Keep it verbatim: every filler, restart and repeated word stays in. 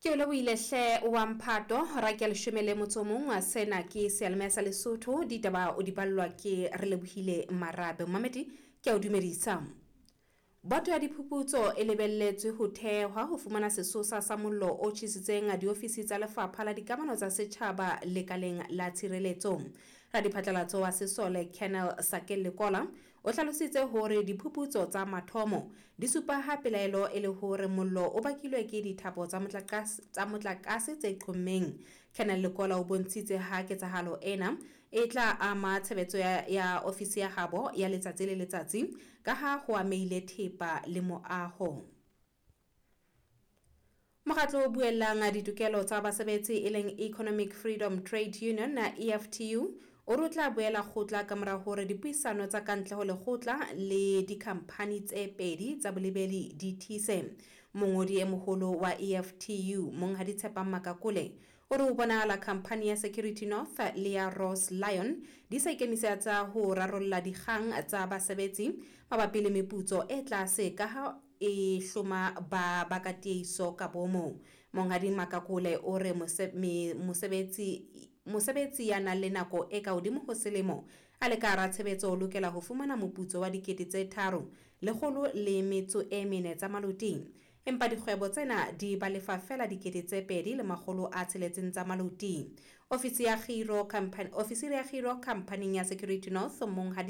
Ke o lebohile hle wa mphato ra ke leshome le motso o mong. Sena ke seyalemoya sa Lesotho, ditaba o di ballwa ke re lebohile Marabe. Mamedi ke a o dumedisa. Boto ya diphuputso e lebelletswe ho thehwa ho fumana sesosa sa mollo o tjhesitseng diofisi tsa Lefapha la Dikamano tsa Setjhaba lekaleng la Tshireletso. Radiphatlalatso wa sesole Colonel Sakel Lekola o hlalositse hore diphuputso tsa mathomo di supa ha pelaelo e le hore mollo o bakilwe ke dithapo tsa motlakase tsa motlakase tse qhommeng. Colonel Lekola o bontshitse ha ketsahalo ena e tla ama tshebetso ya, ya ofisi ya habo ya letsatsi le letsatsi ka ha ho amehile thepa le moaho. Mokgatlo o buellang ditokelo tsa basebetsi e leng Economic Freedom Trade Union na E F T U o re o tla boela kgotla ka mora hore dipuisano tsa kantle ho lekgotla le dikhamphani tse pedi tsa bolebeli di tiise. Mongodi e moholo wa E F T U Monghadi Tshepang Makakole o re ho bonahala khamphani ya Security North le ya Ross Lion di sa ikemisetsa ho rarolla dikgang tsa basebetsi mabapi le meputso e tlase ka ha e hloma ba baka tiehiso ka bomo. Monghadi Makakole o re mose-, me-, mosebetsi, mosebetsi ya nang le nako e ka hodimo ho selemo a le ka hara tshebetso o lokela ho fumana moputso wa dikete tse tharo lekgolo le metso e mene tsa maloting, empa dikgwebo tsena di ba lefa feela dikete tse pedi le makgolo a tsheletseng tsa maloting. Ofisi ya kgiro company, ofisiri ya kgiro khamphaning ya Security North Monghadi